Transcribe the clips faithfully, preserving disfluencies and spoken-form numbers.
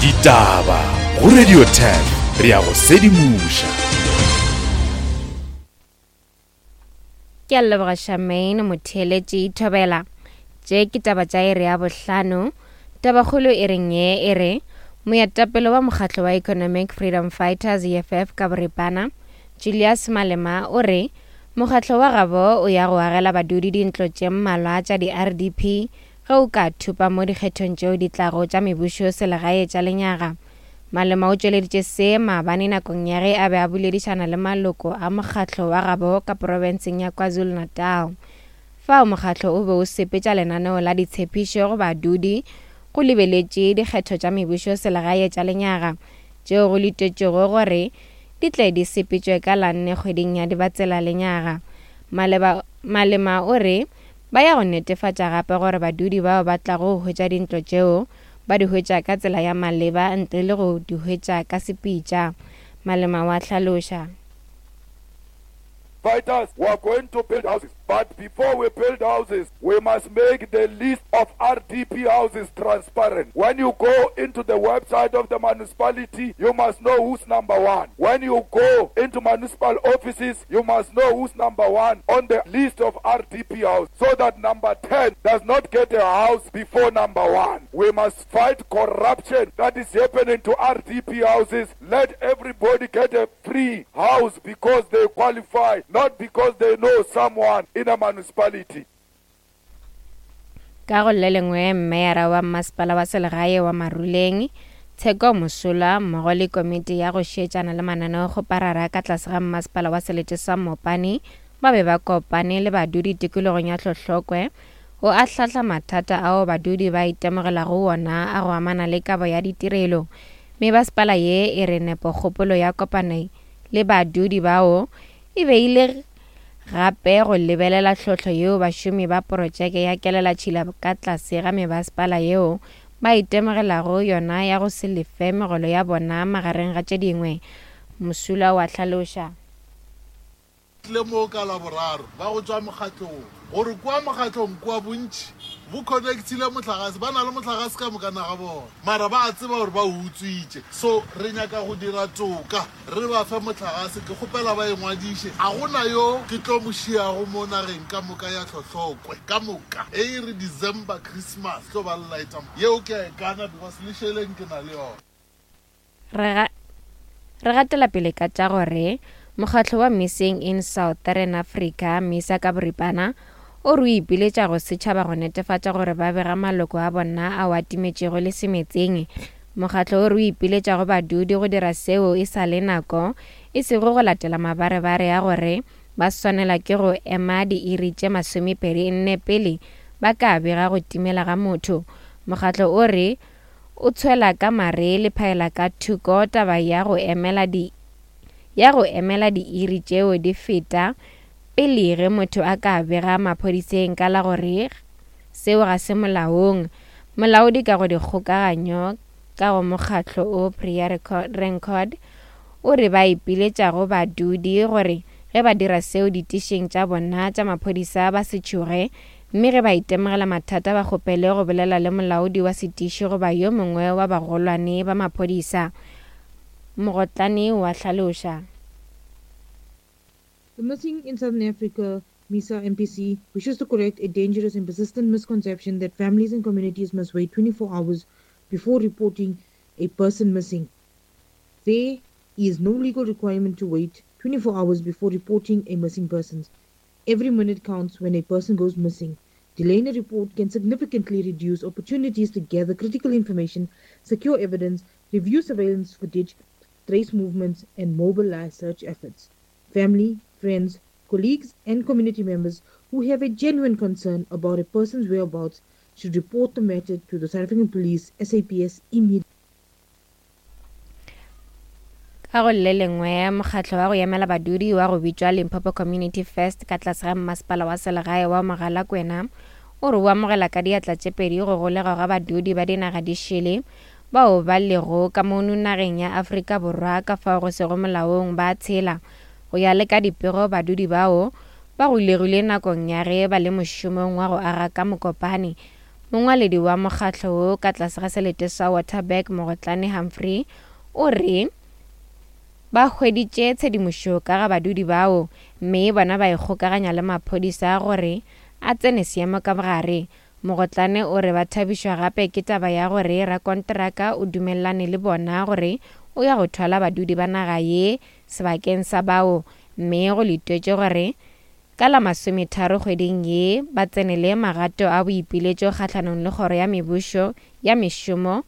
Ditaba go Radio ten re ya go sedimoša. Ke a leboga Shamaine motheeletši Thobela. Tše ke taba tša iri ya bohlano. Tabakgolo e reng ye e re moetapele wa mokgatlo wa Economic Freedom Fighters E F F ka boripana Julius Malema o re mokgatlo wa gabo o ya go agela badudi dintlo tše mmalwa tša di-R D P ge o ka thupa mo dikgethong tšeo di tlago tša mebušo selegae tša lenyaga. Malema o tšweleditše se maabane nakong ya ge a be a boledišana le maloko a mokgatlo wa gabo ka profenseng ya KwaZulu-Natal. Fao mokgatlo o be o sepetša lenaneo la ditshepišo go badudi go lebeletše dikgetho tša mebušo selegae tša lenyaga tšeo go letetšwego gore di tle di sepetšwe ka la nne kgweding ya Dibatsela lenyaga. Maleba, Malema o re ba ya go netefatša gape gore badudi bao ba tlago go hwetša dintlo tšeo ba di hwetša ka tsela ya maleba ntle le go di hwetša ka sepitša. Malema wa hlaloša. Fighters, we are going to build houses. But before we build houses, we must make the list of R D P houses transparent. When you go into the website of the municipality, you must know who's number one. When you go into municipal offices, you must know who's number one on the list of R D P houses, so that number ten does not get a house before number one. We must fight corruption that is happening to R D P houses. Let everybody get a free house because they qualify, not because they know someone in a municipality. Ka go le lengwe meyara wa masepala wa selegae wa Maruleng Tsheko Mosola mmogo le komiti ya go šetšana le mananeo go parara ka tlase ga masepala wa selete sa Mopani ba be ba kopane le badudi tikologong ya Hlohlokwe go ahlahla mathata ao badudi ba itemogelago wona a go amana le kabo ya ditirelo. Mebasepala ye e re nepokgopolo ya kopane le badudi bao e beile gape go lebelela tlhohlo yeo bašomi ba porojeke ya kelelatšhila ka tlase ga mebasepala yeo ba itemogelago yona ya go se lefe megolo ya bona magareng ga tše dingwe. Mosula wa hlaloša. Tle mo ka Laboraro ba go tšwa mokgatlong gore kwa mokgatlong kwa bontši bo connectile motlakase, ba na le motlakase ka moka naga bona, mara ba a tseba gore ba o utswitše. So re nyaka go dira toka, re ba fe motlakase. Ke kgopela ba engwadiše, a gona yo ke tlo mo šiago mo nageng ka moka ya Hlohlokwe ka moka. E e re December Christmas tlo ba lighta yeo ke a e kana because le šeleng ke na le yona. Re re gatela pele ka tša gore mokgatlo wa Missing in Southern Africa MISA ka boripana o re o ipiletša go setšhaba go netefatša gore ba bega maloko a bona ao a timetšego le semetseng. Mokgatlo o re o ipiletša go badudi go dira seo e sa le nako, e sego go latela mabarebare a gore ba swanela ke go ema diiri tše masomepedi nne pele ba ka bega go timela ga motho. Mokgatlo o re o tshwela ka mare le phaela ka thoko taba ya go emela di ya go emela diiri tšeo di feta pele ge motho a ka bega maphodiseng ka la gore seo ga se molaong. Molaodi ka go dikgokaganyo ka go mokgatlo o Priya Record o re ba ipiletša go badudi gore ge ba dira seo ditišing tša bona tša maphodisa ba se tšhoge, mme ge ba itemogela mathata ba kgopele go bolela le molaodi wa setiši goba yo mongwe wa bagolwane ba maphodisa. Mogotlane wa hlaloša. The Missing in Southern Africa, MISA M P C, wishes to correct a dangerous and persistent misconception that families and communities must wait twenty-four hours before reporting a person missing. There is no legal requirement to wait twenty-four hours before reporting a missing person. Every minute counts when a person goes missing. Delaying a report can significantly reduce opportunities to gather critical information, secure evidence, review surveillance footage, trace movements, and mobilize search efforts. Family, friends, colleagues, and community members who have a genuine concern about a person's whereabouts should report the matter to the South African Police, S A P S, immediately. Ka go le lengwe mokgatlo wa go emela badudi wa go bitšwa Limpopo Community First ka tlase ga mmasepala wa selegae wa Mogalakwena o re o amogela ka diatla tše pedi go golegwa ga badudi ba dinaga di šele bao ba lego ka mono nageng ya Afrika Borwa ka fao go sego molaong ba tshela. Go ya le ka dipego badudi bao ba golegile nakong ya ge ba le mošomong wa go aga ka Mokopane. Mongwaledi wa mokgatlo wo ka tlase ga selete sa Waterberg Mogotlane Humphrey o re ba hweditše tshedimošo ka ga badudi bao mme bona ba ikgokaganya le maphodisa gore a tsene seemo ka bogare. Mogotlane o re ba thabišwa gape ke taba ya gore rakonteraka o dumelelane le bona gore o ya go thwala badudi ba naga ye sebakeng sa bao, mme go letetšwe gore ka la masometharo kgweding ye ba tsenele magato a boipiletšo kgahlanong le kgoro ya mebušo ya mešomo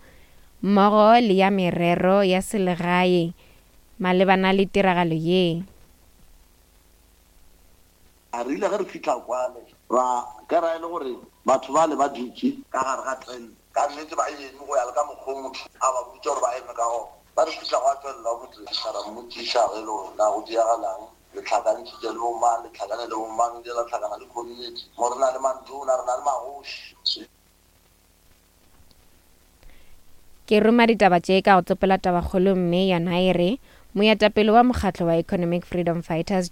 mmogo le ya merero ya selegae malebana le tiragalo ye. A re ile ge re fihla kwale ra ka ra e le gore batho ba le ba dutše ka gare ga tent, ka nnete ba eme go ya le ka mokgwa o motho a ba botša gore ba eme ka gona. Ba re fihla gwa tswelela motho ra mmotšiša ge e le gore na go diagalang, le tlhakantšhitše le bomang, le tlhakane le bomang, le la tlhakana le community mo re na le mantona, re na le magoši. Ke roma ditaba tše ka go tsopela tabakgolo mme yona e re moetapele wa mokgatlo wa Economic Freedom Fighters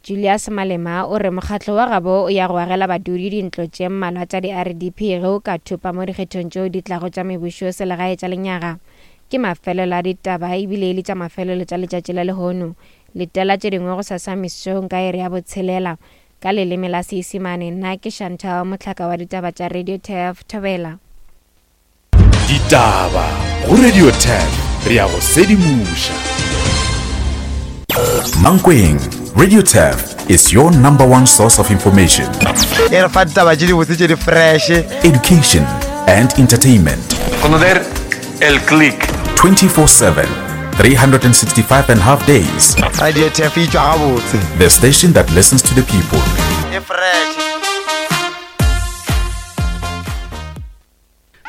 Julius Malema o re mokgatlo wa gabo o ya go agela badudi dintlo tše mmalwa tša di-R D P ge o ka thopa mo dikgethong tšeo di tlago tša mebušo selegae tša lenyaga. Ke mafelelo a ditaba ebile e le tša mafelelo tša letšatši la lehono. Letela tše dingwe go sasa mesong ka iri ya botshelela ka leleme la Seisemane. Nna ke Chantal Motlhaka wa ditaba tša Radio T F Thobela. Ditaba go Radio T F re ya go sedimoša. Mankweng, Radio T F is your number one source of information, E re fa ditaba tše dibotse tše di fresh, education and entertainment. Conocer el click. twenty-four seven, three hundred sixty-five and a half days. Radio T F e tšwa gabotse. The station that listens to the people. E fresh.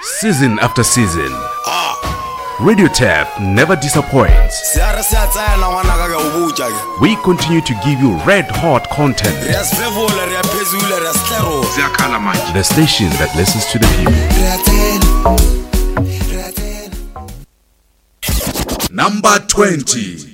Season after season, Radio T F never disappoints. We continue to give you red hot content. The station that listens to the people. Number twenty.